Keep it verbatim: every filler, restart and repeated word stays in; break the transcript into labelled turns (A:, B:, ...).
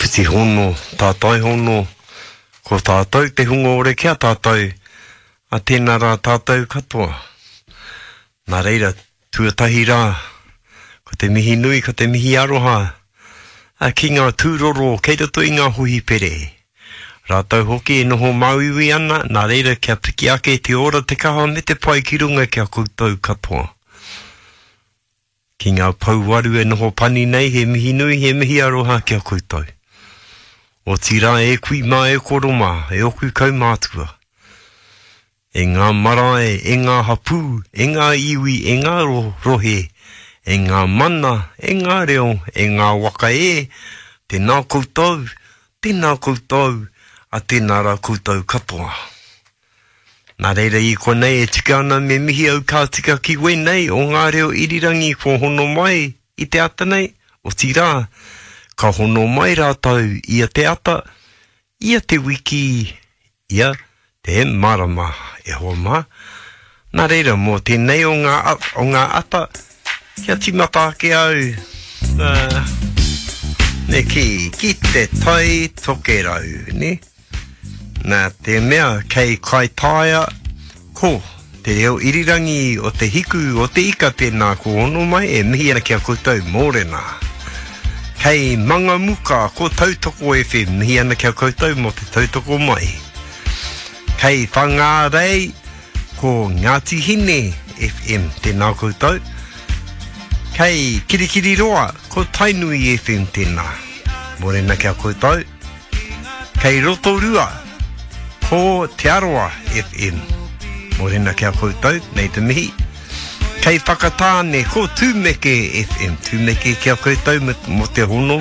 A: Whiti hono, tātai hono, ko tātou te hunga ore kia tātou, a tēnā rā tātou katoa. Nā reira, tuatahi rā, ko te mihi nui, ko te mihi aroha, a ki ngā tūroro kei roto i ngā hohipere. Rātou hoki e noho māuiui ana, nā reira kia piki ake te ora te kaha me te pai ki runga kia koutou katoa. Ki ngā pouwaru e noho pani nei, he mihi nui, he mihi aroha kia koutou. Otirā e kui mā e koro mā, e oku kaumātua. E ngā marae, e ngā hapū, e ngā iwi, e ngā rohe, e ngā mana, e ngā reo, e ngā waka e, tēnā koutou, tēnā koutou, a tēnā rā koutou katoa. Nā reira i konei e tika ana me mihi au ka tika ki wēnei o ngā reo irirangi kua hono mai i te ata nei, otirā, ka hono mai rātou ia te ata, ia te wiki, ia te marama, e hoa mā. Nā reira, mō tēnei o ngā, o ngā ata, kia tīmata ake au, uh, ne ki, ki te tai tokerau, ne? Nā te mea kei Kaitaia, ko te reo irirangi o te hiku o te ika tēnā ko hono mai e mihi ana ki a koutou mōrena. Kei Mangamuka ko Tautoko F M, mihi ana ki a koutou mō te tautoko mai. Kei Whangārei ko Ngāti Hine F M, tēnā koutou. Kei Kirikiriroa ko Tainui F M tēnā. Mōrena ki a koutou. Kei Rotorua ko Te Arawa F M. Mōrena ki a koutou, nei te mihi. Kei Whakatāne ko Tūmeke F M. Tūmeke ki a koutou mō te hono